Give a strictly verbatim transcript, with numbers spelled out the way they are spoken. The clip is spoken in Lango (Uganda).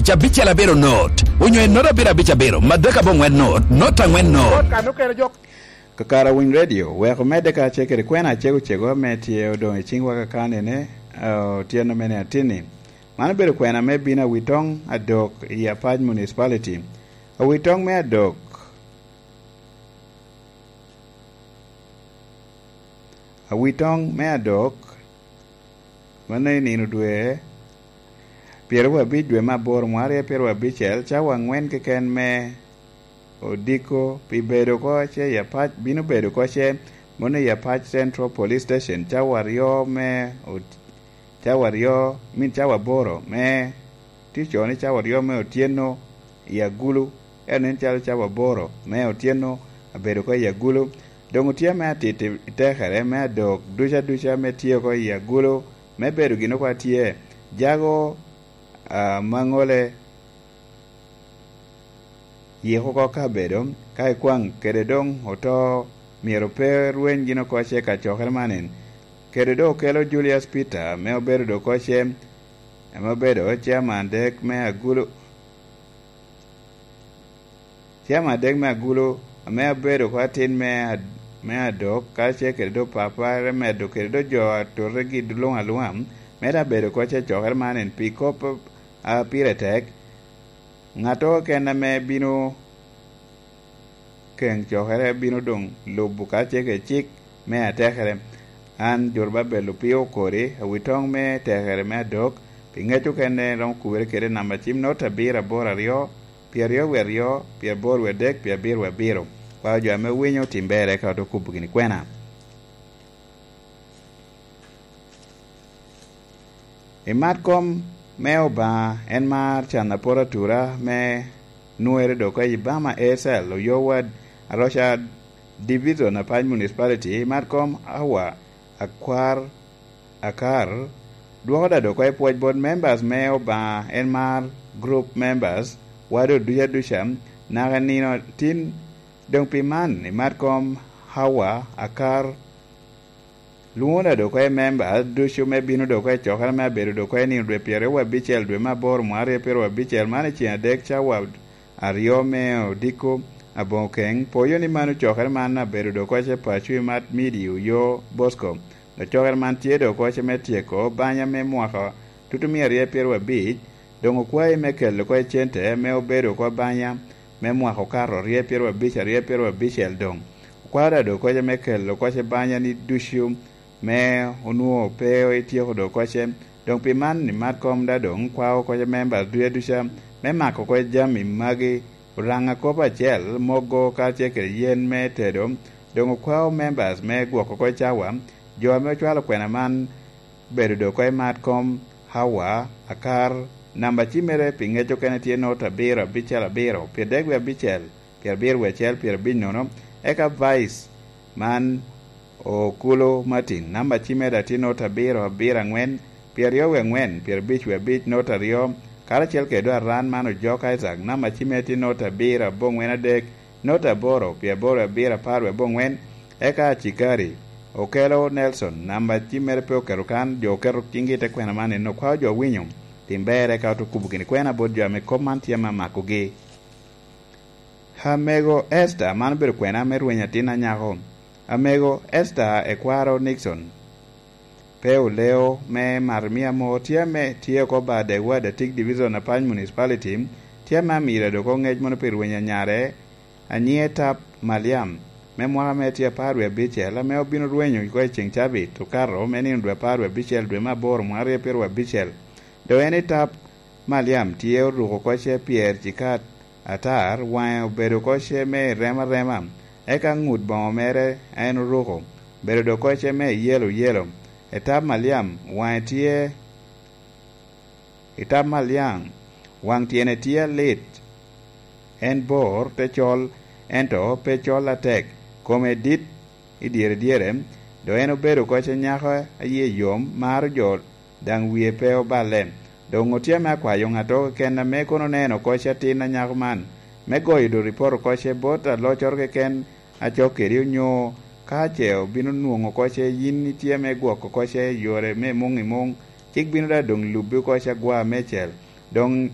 Cabicel abiro not, onyo en not abiro abic abiro, madek abongwen not, not angwen not. Kakara Winy Radio wek omedde kacel kede kwena acego cego ame tye odoŋ i ciŋwa kakanene, eh, otyeno mene atinni. Man obedo kwena me bino Awitoŋ Adok i Apac Municipality. Awitoŋ me Adok, Awitoŋ me Adok, mano i nino dwe pyeraryo abic dwe me aboro, mwaka aryo pyeraryo abicel, cawa angwen keken me odiko pi bedo oko ce i Apac, bino bedo oko ce, mano i Apac Central Police Station, cawa aryo me ot-, cawa aryo, min cawa aboro me, tye ocoo ni cawa aryo me otyeno i agulu, ento nen calo cawa aboro me otyeno abedo oko i agulu. Doŋ otye ame atito i tekere me Adok duca duca me tye oko i agulu, me bedo gin oko atye. Jago, ah, Maŋole yiko oko kabedo, ka ikwaŋ kede doŋ oto, myero pe rweny gin oko ce kacokere man en. Kede doŋ okelo Julius Peter, ame obedo doŋ oko ce, ame obedo chairman dek me agulu. Cem adek me agulu, ame abedo oko atin me ad-, me Adok, karacel kede doŋ papare medo kede doŋ jo a totegi luŋ aluŋa, me te abedo oko ce cokere man en pi kop a pire tek. Ŋattoro keken ame bino keŋ cokere bino doŋ lubo karacel kede cik me atekere. An Jorobabel Opio Okori, awitoŋ me tekere me Adok, pi ŋec okene romo kubere kede namba cim not abiro aboro aryo, pyeraryo wie aryo, pyeraboro wie adek, pyerabiro wie abiro. Kwao jo ame winyo tim berre ka ote kubo gini kwena. I mat kom me Obaŋa en mar can apot atura me nwere dok i Bama A S L, Oyo Ward, Aroca Division, Apac Municipality, i mat kom Awa Akwar Akar, dwoko da dok i pwoc bot members me Obaŋa en mar group members, wado duca duca, naka nino tin. Doŋ pi man, i mat kom Hawa Akar, lwoŋo da dok i member ducu me bino dok i cokere me abedo dok i nino dwe pyeraryo wie abicel dwe me aboro mwaka aryo pyeraryo abicel, man i ceng adek cawa aryo me odiko aboŋo keŋ. Poyo ni mano cokere man abedo dok i paco i mat midi Oyo Bosco. Dok cokere man tye dok i me tyeko banya me mwaka tutumia aryo pyeraryo abic, doŋ okwayi me kelo oko i cente me obedo oko banya me mwaka okato aryo pyeraryo abic, aryo pyeraryo abicel doŋ. Okwao da dok oko me kelo oko banya ni ducu me onwoŋo pe ityeko dok oko. Doŋ pi man, i mat kom da doŋ kwao oko members duca duca me mako oko jami magi, Oraŋa kop acel, mogo karacel kede yen me tedo. Doŋ okwao members me gwoko oko cawa, jo ame ocwalo kwena man bedo dok oko i mat kom Hawa Akar, namba cimmere pi ŋec okene tye not abiro abicel abiro, pyerabek wie abicel, pyerabiro wie acel, pyerabic nono, eka Vice man Okulo Martin, namba cimmere tye not abiro abiro angwen, pyeraryo wie angwen, pyerabic wie abic, not aryo, karacel kede Aran man Ojok Isaac, namba cimmere tye not abiro aboŋwen adek, not aboro, pyeraboro abiro, apar wie aboŋwen, eka Cikari, Okelo Nelson, namba cimmere pe oketo kan, jo oketo ciŋgi i te kwena man, en okwao jo owinyo, tim ber eka ote kubo gini kwena bot jo ame kop man tye ame amakogi. Amego Esther, man obedo kwena me rweny atin anyako. Amego Esther Ekwaro Nixon, pe oleo me Marmia mo, tye ame tye oko ba Degwa Datik Division, Apany Municipality, tye ame amira dok oŋec mono pi rweny anyare, anyiŋe Tap Maliam, me mwaka me tye apar wie abicel, ame obino rwenyo oko i ceŋ cabit okato me nino dwe apar wie abicel dwe me aboro mwaka aryo pyeraryo abicel. Dok en i Tap Maliam tye oruko oko ce pyer cikat atar, waŋe obedo oko ce me rema rema, eka ŋut boŋo mere a en oruko obedo dok oko ce me yelo yelo. I Tap Maliam waŋe tye, i Tap Maliam waŋ tyene tye alit, en bor te col, ento pe col atek, kome dit i dyere dyere, dok en obedo oko ce nyako a yie yom, maro jo, daŋ wie pe oballe. Doŋ otye ame akwayo ŋattoro keken ame kono oneno oko ce atin anyako man, me goyo doŋ ripot oko ce bot aloccoro keken a cok kedi, onyo ka ce obino nwoŋo oko ce yin itye ame gwoko oko ce i yore me muŋ i muŋ, cik bino daŋ doŋ lubbi oko ce agwa meicel. Doŋ